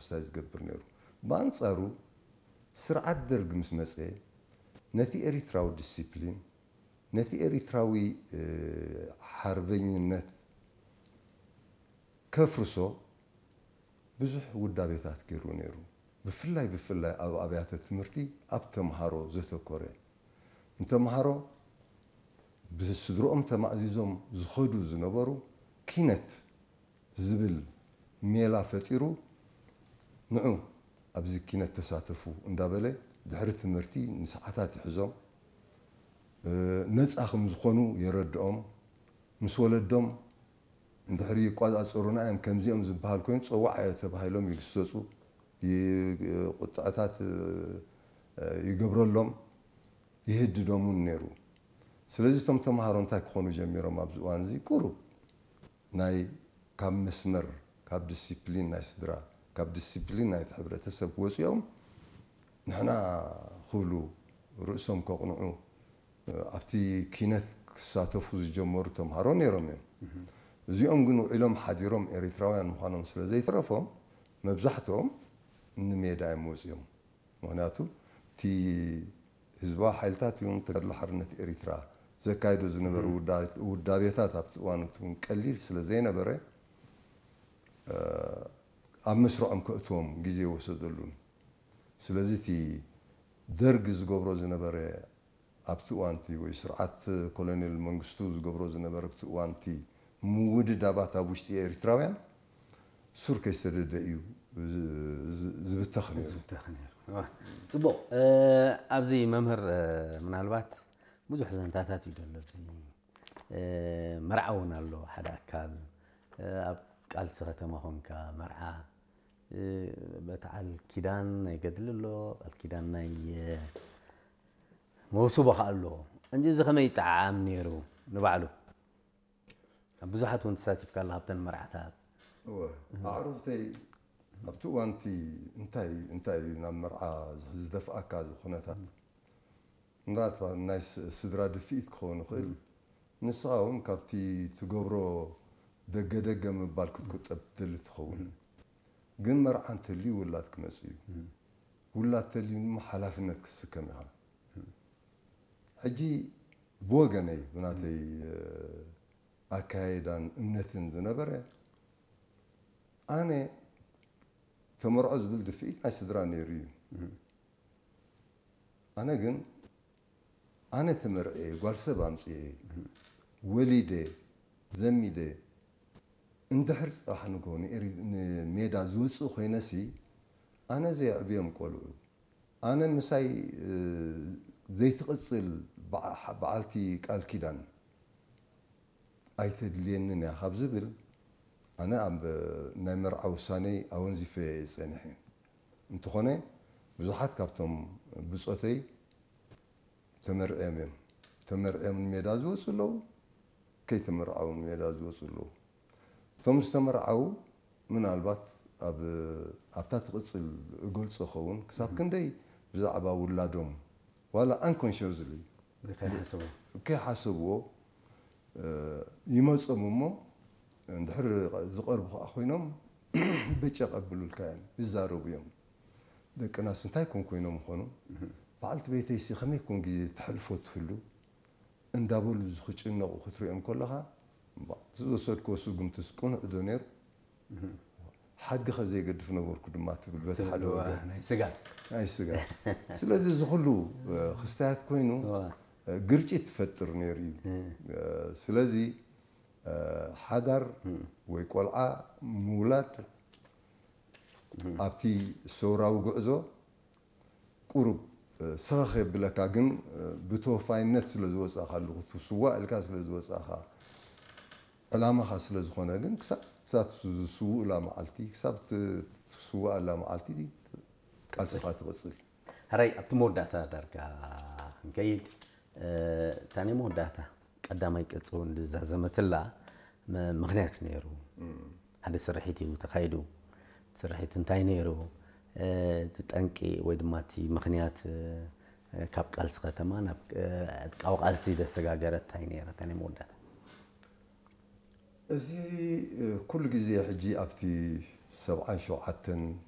ኤክሰርሳይዝ ዝገብር ነይሩ። ብኣንጻሩ ስርዓት ደርግ ምስ መጸ ነቲ ኤሪትራዊ ዲሲፕሊን፣ ነቲ ኤሪትራዊ ሓርበኝነት ከፍርሶ ብዙሕ ውዳቤታት ገይሩ ነይሩ። ብፍላይ ብፍላይ ኣብ ኣብያተ ትምህርቲ ኣብ ተምሃሮ ዘተኮረ፣ ንተምሃሮ ብስድርኦም ተማእዚዞም ዝኸዱ ዝነበሩ ኪነት ዝብል ሜላ ፈጢሩ ንዑ ኣብዚ ኪነት ተሳተፉ እንዳበለ ድሕሪ ትምህርቲ ንሰዓታት ይሕዞም። ነፃ ከም ዝኾኑ የረድኦም። ምስ ወለዶም እንድሕሪ ይቋፃፀሩና እዮም ከምዚኦም ዝበሃል ኮይኑ ፀዋዕ ተባሂሎም ይግሰፁ፣ ቁጥዐታት ይገብረሎም፣ ይህድዶም እውን ነይሩ። ስለዚ እቶም ተምሃሮ እንታይ ክኾኑ ጀሚሮም ኣብዚ እዋን እዚ ቁሩብ ናይ ካብ መስመር ካብ ዲሲፕሊን ናይ ስድራ ካብ ዲሲፕሊን ናይቲ ሕብረተሰብ ወፂኦም ንሕና ክብሉ ርእሶም ከቕንዑ ኣብቲ ኪነት ክሳተፉ ዝጀመሩ ተምሃሮ ነይሮም እዮም። እዚኦም ግን ውዒሎም ሓዲሮም ኤሪትራውያን ምዃኖም ስለ ዘይተረፎም መብዛሕትኦም ንሜዳ እዮም ወፂኦም። ምኽንያቱ እቲ ህዝባዊ ሓይልታት ይኹን ተጋድሎ ሓርነት ኤሪትራ ዘካይዶ ዝነበረ ውዳቤታት ኣብቲ እዋን እውን ቀሊል ስለ ዘይነበረ ኣብ መስርዖም ከእትዎም ግዜ ወሰደሉን። ስለዚ እቲ ደርግ ዝገብሮ ዝነበረ ኣብቲ እዋንቲ ወይ ስርዓት ኮሎኔል መንግስቱ ዝገብሮ ዝነበረ ኣብቲ እዋንቲ ምውድዳባት ኣብ ውሽጢ ኤሪትራውያን ሱር ከይሰደደ እዩ ዝብተኽ ነይሩ። ዝብተኽ ነይሩ። ጽቡቕ። ኣብዚ መምህር ምናልባት ብዙሕ ዘንታታት እዩ ዘሎ። መርዓ እውን ኣሎ ሓደ ኣካል ኣብ ቃልሲ ከተማ ኮንካ መርዓ በተዓል ኪዳን ናይ ገድሊ ኣሎ ቃል ኪዳን ናይ መውስቦ ከኣ ኣለዎ እንጂ እዚ ከመይ ይጠዓዓም ነይሩ ንባዕሉ ኣብ ብዙሓት እውን ተሳቲፍካ ኣለ ካብተን መርዓታት እወ ኣዕሩኽተይ ኣብቲ እዋንቲ እንታይ እንታይ እዩ ናብ መርዓ ዝደፍኣካ ኩነታት ምናልባት ናይ ስድራ ድፍኢት ክኸውን ይኽእል ንስኻ እውን ካብቲ ትገብሮ ደገ ደገ ምባል ክትቁጠብ ትደሊ ትኸውን ግን መርዓ እንተልዩ ውላድ ክመጽእ እዩ ውላድ ተልዩ ድማ ሓላፍነት ክትስከም ኢኻ ሕጂ ብወገነይ ብናተይ ኣካየዳን እምነትን ዝነበረ ኣነ ተመርዖ ዝብል ድፍኢት ናይ ስድራ ነይሩ እዩ ኣነ ግን ኣነ ተመርዕየ ጓል ሰብ ኣምፅየ ወሊደ ዘሚደ እንድሕር ፅባሕ ንግሆ ንሜዳ ዝወፅእ ኮይነሲ ኣነ ዘየዕብዮም ቆልዑ ኣነ ምሳይ ዘይትቕፅል በዓልቲ ቃል ኪዳን ኣይተድልየንን እያ ካብ ዝብል ኣነ ኣብ ናይ መርዓ ውሳነይ ኣወንዚፈ እየ ፀኒሐ እንተኾነ ብዙሓት ካብቶም ብፆተይ ተመርዕዮም እዮም ተመርዕዮም ንሜዳ ዝወፁ ኣለዉ ከይተመርዓዉ ንሜዳ ዝወፁ ኣለዉ እቶም ዝተመርዓዉ ምናልባት ኣብ ኣብታ ትቕፅል እገልፆ ኸውን ክሳብ ክንደይ ብዛዕባ ውላዶም ዋላ unconsciously ከይሓሰብዎ ይመፆም እሞ እንድሕር ዝቐርቡ ከዓ ኮይኖም በጨ ቀብሉልካ እዮም ይዛረቡ እዮም ደቅናስ እንታይ ኮን ኮይኖም ምኾኑ በዓልቲ ቤተይሲ ከመይ ኮን ግዜ ተሕልፎ ትህሉ እንዳበሉ ዝክጭነቑ ክትሪኦም ከለኻ ዝወሰድክዎ ስጉምትስ ቅኑዕ ዶ ነይሩ ሓድጊ ከዘይገድፍ ነበርኩ ድማ ትብል በቲ ሓደ ወገን ናይ ስጋ ናይ ስጋ ስለዚ እዚ ኩሉ ክስታያት ኮይኑ ግርጭት ይፈጥር ነይሩ እዩ ስለዚ ሓዳር ወይ ቆልዓ ምውላድ ኣብቲ ሰውራዊ ጉዕዞ ቁሩብ ሰኸኽ የብለካ ግን ብተወፋይነት ስለ ዝወፃእካ ኣለኹ ትስዋእ ኢልካ ስለ ዝወፃእካ ዕላማኻ ስለ ዝኾነ ግን ክሳብ እታ ዝስውእላ መዓልቲ ክሳብ ትስውኣላ መዓልቲ ቃልስኻ ትቕፅል ሕራይ ኣብቲ መወዳእታ ዳርጋ ክንከይድ እታ ናይ መወዳእታ ቀዳማይ ቅፂ እውን ዝዛዘመትላ ምኽንያት ነይሩ ሓደ ስርሒት እዩ ተኻይዱ ስርሒት እንታይ ነይሩ እቲ ጠንቂ ወይ ድማ እቲ ምኽንያት ካብ ቃልሲ ከተማ ናብ ዕጥቃዊ ቃልሲ ዘሰጋገረ እንታይ ነይረ እታ ናይ መወዳእታ እዚ ኩሉ ግዜ ሕጂ ኣብቲ ሰብዓን ሸውዓተን